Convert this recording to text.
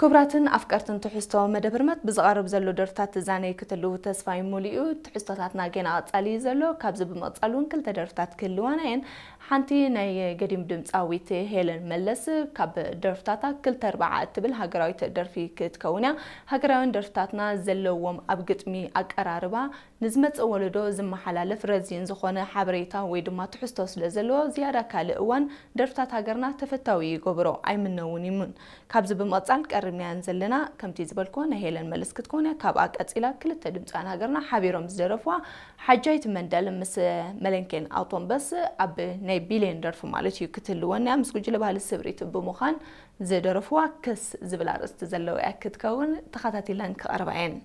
ክቡራትን ኣፍቀርትን ትሕዝቶ መደብ ህርመት ብዝቐርብ ዘሎ ደርፍታት ትዛነዩ ክትህልዉ ተስፋይ ሙሉእ እዩ። ትሕዝቶታትና ጌና ቀጻሊ እዩ ዘሎ። ካብዚ ብምቕጻል እውን ክልተ ደርፍታት ክህልዋና እየን። ሓንቲ ናይ ገዲም ድምጻዊት ሄለን መለስ ካብ ደርፍታታ ክልተ ኣርባዓ እትብል ሃገራዊት ደርፊ ክትከውን እያ። ሃገራውያን ደርፍታትና ዘለዎም ኣብ ግጥሚ ኣቀራርባ ንዝመጽእ ወለዶ ዝመሓላለፍ ረዚን ዝኾነ ሓበሬታ ወይ ድማ ትሕዝቶ ስለ ዘለዎ ዝያዳ ካልእ እዋን ደርፍታት ሃገርና ተፈታዊ ይገብሮ ኣይምነውን ይሙን። ካብዚ ብምቕጻል ቀሪብናያን ዘለና ከምቲ ዝበልክዎ ናይ ሄለን መለስ ክትኮን እያ። ካብኣ ቀጺላ ክልተ ድምፃውያን ሃገርና ሓቢሮም ዝደረፍዋ ሓጃይት መንደል ምስ መለንኬን ኣውቶምበስ ኣብ ናይ ቢልዮን ደርፊ ማለት እዩ ክትህልወን እያ። ምስ ጉጅለ ባህሊ ስብሪት ብምዃን ዝደረፍዋ ክስ ዝብል ኣርእስቲ ዘለዎ እያ ክትከውን። ተኸታቲለን ክቐርባ እየን።